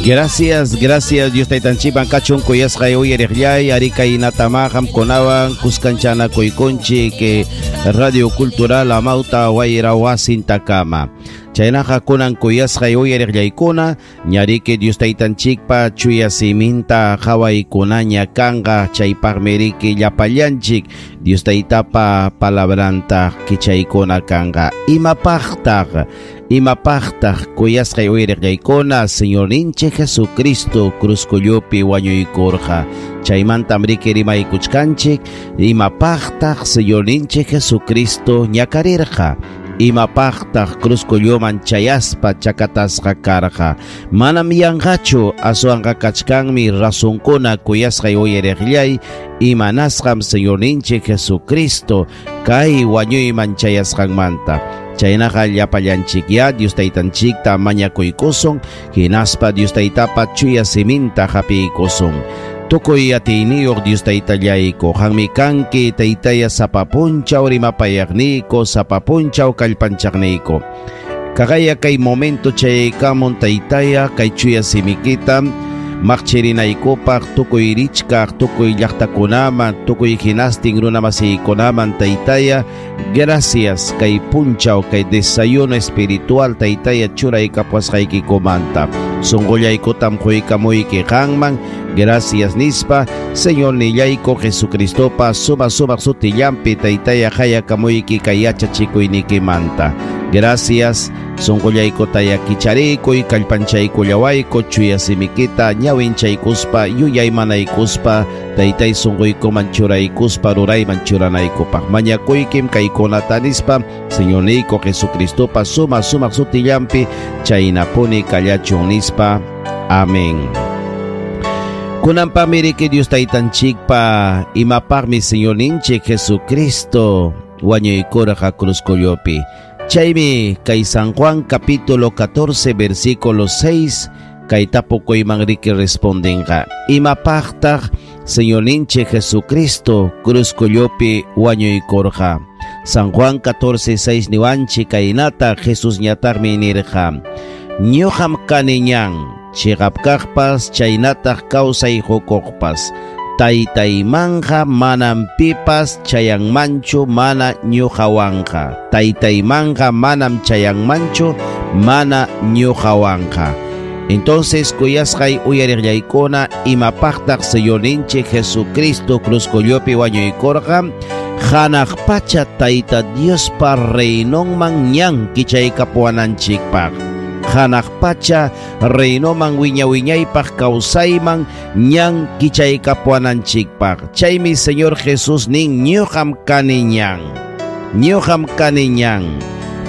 Gracias, gracias Dios taytanchikman kachun kuyasqay uyariqllay ari kaynatama qamkunawan kuskanchanakuykunchik Radio Cultural Amauta Wayra Wasintakama. Chaynaqa kunan kuyasqay uyariqllaykuna ñariki Dios taytanchikpa chuya siminta qhawaykunaña kanqa chaypaqmi riki llapallanchik Dios taytapa palabranta kichaykuna kanqa. Imapaqtaq imapaqtaq kuyasqay uyariqllaykuna Señorninchik Jesucristo cruzkullupi wañuykurqa. Chaymantam riki rimaykuchkanchik imapaqtaq Señorninchik Jesucristo ñakarirqa. Imapaqtaq cruzkulluman chayaspa chakatasqa karqa. Manam yanqachu aswanqa kachkanmi razonkuna kuyasqay uyariqllay imanasqam Señorninchik Jesucristo kay wañuyman chayasqanmanta. Chaynaqa llapallanchikya Dios taytanchikta mañakuykusun hinaspa Dios taytapa chuya siminta hapiykusun. Tukuy atiyniyuq Dios taytallayku, qanmi kanki taytaya sapa punchaw rimapayaqniyku, sapa punchaw kallpanchaqniyku. Kaqaya kay momento chayaykamun taytaya kay chuya simikita maqchirinaykupaq tukuy richkaq, tukuy llaqtakunaman, tukuy hinastin runamasiykunaman taytaya, gracias kay punchaw, kay desayuno espiritual taytaya churaykapuwasqaykikumanta. Sunqullaykutam quykamuyki qanman, gracias nispa, Señor nillayku Jesucristopa suma sumaq sutillanpi taytaya qayakamuyki kay yachachikuynikimanta. Gracias, sunqullaykutaya kicharikuy, kallpanchaykullawayku, chuya simikita ñawinchaykuspa, yuyaymanaykuspa, taytay sunquykuman churaykuspa, rurayman churanaykupaq. Mañakuykim kaykunata nispa, Señorniyku Jesucristopa suma sumaq sutillanpi, chaynapuni kallachun nispa. Amén. Kunanpami riki Dios taytanchikpa imapaqmi Señorninchik Jesucristo wañuykurqa cruzkullupi. Chaymi kay San Juan capítulo 14 versículo 6 kay tapukuyman riki respondenqa. Imapaqtaq Señorninchik Jesucristo cruzkullupi wañuykurqa. San Juan 14:6 niwanchik kaynata Jesús ñataqmi nirqa. Ñuqam kani ñan, chiqap kaqpas chaynataq kawsay hukuqpas. Taytaymanqa manam pipas chayanmanchu mana ñuqawanqa. Taytaymanqa manam chayanmanchu mana ñuqawanqa. Entonces kuyasqay uyariqllaykuna imapaqtaq Señorninchik Jesucristo cruzkullupi wañuykurqa hanaq pacha Tayta Diospa reinonman ñan kichaykapuwananchikpaq. Hanaq pacha reinoman wiña wiñaypaq kawsayman ñan kichaykapuwananchikpaq. Chaymi Señor Jesús nin ñuqam kani ñan. Ñuqam kani ñan.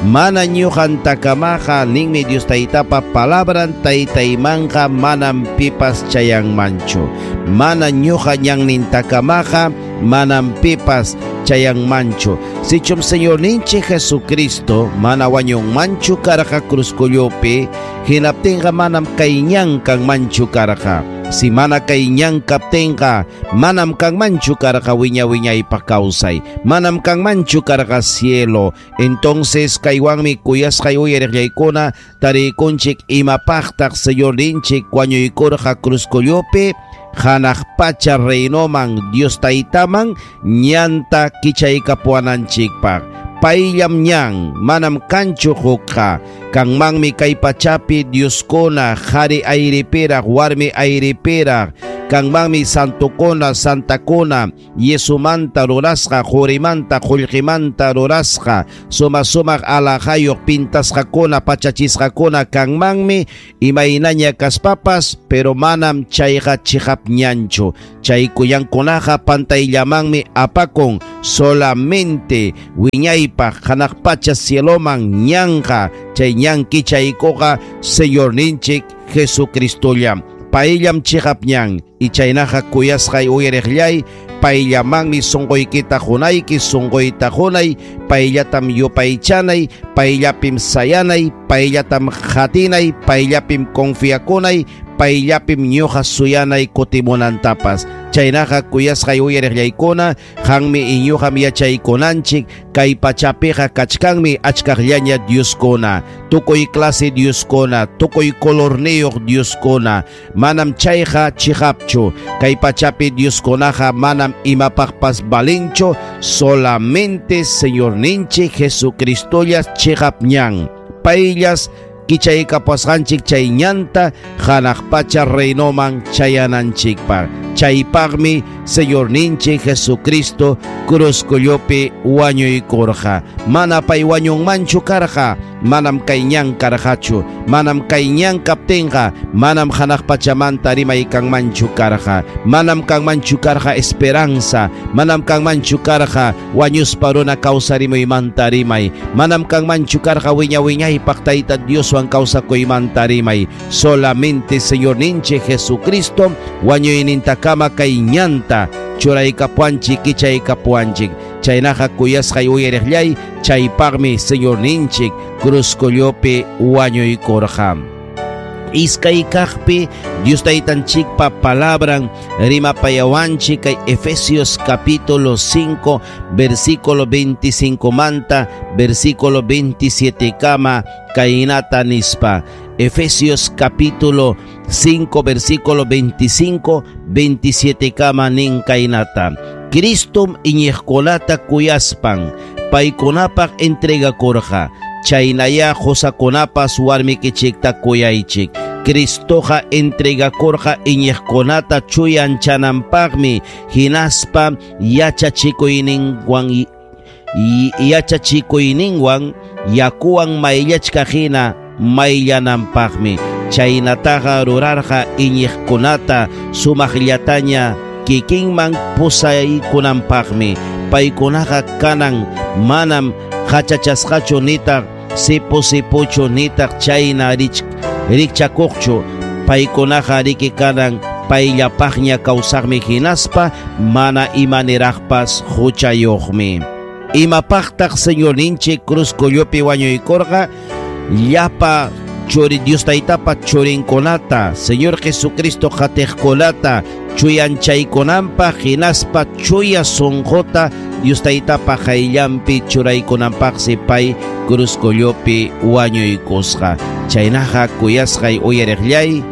Mana ñuqantakamaqa ninmi Dios taytapa palabran taytaymanqa manam pipas chayanmanchu. Mana ñuqa ñannintakamaqa manam pipas chayanmanchu. Sichum Señorninchik Jesucristo mana wañunmanchu karqa cruzkullupi, hinaptinqa manam kay ñan kanmanchu karqa. Si mana kay ñan kaptinqa manam kanmanchu karqa wiña wiñaypaq kawsay, manam kanmanchu karqa cielo. Entonces kaywanmi kuyasqay uyariqllaykuna tarikunchik imapaqtaq Señorninchik wañuykurqa cruzkullupi hanaq pacha reinoman Dios taytaman ñanta kichaykapuwananchikpaq. Payllam ñan, manam kanchu hukqa. Kanmanmi kay pachapi Dioskuna, qhari ayripiraq, warmi ayripiraq. Kanmanmi santukuna, santakuna, yesumanta rurasqa, qurimanta, qullqimanta rurasqa, suma sumaq alajayuq pintasqakuna, pachachisqakuna kanmanmi imaynaña kaspapas, pero manam chayqa chiqap ñanchu. Chay kuyankunaqa pantayllamanmi apakun solamente wiñaypaq hanaq pacha cieloman ñanqa. Chay ñan kichaykuqa Señorninchik Jesucristolla. Payllam chiqap ñan y chaynaqa kuyasqay uyariqllay payllamanmi sunquykita qunayki, sunquyta qunay, payllatam yupaychanay, payllapim sayanay, payllatam qatinay, payllapim confiakunay, payllapim ñuqa suyanay kutimunantapas. Chaynaqa kuyasqay uyariqllaykuna, qanmi iñuqam yachaykunanchik, kay pachapiqa kachkanmi achkaqllaña Dioskuna, tukuy clase Dioskuna, tukuy colorniyuq Dioskuna. Manam chayqa chiqapchu. Kay pachapi Dioskunaqa manam imapaqpas valinchu, solamente Señorninchik Jesucristolla chiqap ñan. Payllas kichaykapasqanchik chay ñanta hanaq pacha reinoman chayananchikpaq. Chaypaqmi Señorninchik Jesucristo cruzkullupi wañuykurqa. Mana pay wañunmanchu karqa, manam kay ñan karqachu, manam kay ñan kaptinqa, manam hanaq pachamanta rimay kanmanchu karqa, manam kanmanchu karqa esperanza, manam kanmanchu karqa wañuspa runa kawsarimuymanta rimay, manam kanmanchu karqa wiña wiñaypaq Tayta Dioswan kawsakuymanta rimay. Solamente Señorninchik Jesucristo wañuynintakama kay ñanta churaykapuanchik, kichaykapuanchik. Chaynaqa kuyasqay uyariqllay, chaypaqmi Señorninchik cruzkullupi wañuykurqa. Iskay kaqpi Dios Taytanchikpa palabran rimapayawanchik kay Efesios capítulo 5 versículo 25 manta versículo 27 kama kaynata nispa. Efesios capítulo 5 versículo 25 27 kama nin kaynata. Cristum iñiqkunata kuyaspan paykunapaq entregakurqa. Chaynaya qusakunapas warmikichikta kuyaychik. Cristoqa entregakurqa iñiqkunata chuyanchananpaqmi, hinaspa yachachikuyninwan yakuwan mayllachka hina mayllananpaqmi. Chaynataqa rurarqa iñiqkunata sumaqllataña kikinman pusaykunanpaqmi. Paykunaqa kanan manam qachachasqachu nitaq sipu sipuchu nitaq chayna rikchakuqchu. Paykunaqa riki kanan payllapaqña kawsaqmi hinaspa mana imaniraqpas huchayuqmi. Imapaqtaq Señorninchik cruzkullupi wañuykurqa? Llapa churi Dios Taytapa churinkunata, Señor Jesucristo qatiqkunata chuyanchaykunanpaq hinaspa chuya sunquta Dios Taytapa qayllanpi churaykunanpaqsi pay cruzkullupi wañuykusqa. Chaynaqa kuyasqay uyariqllay,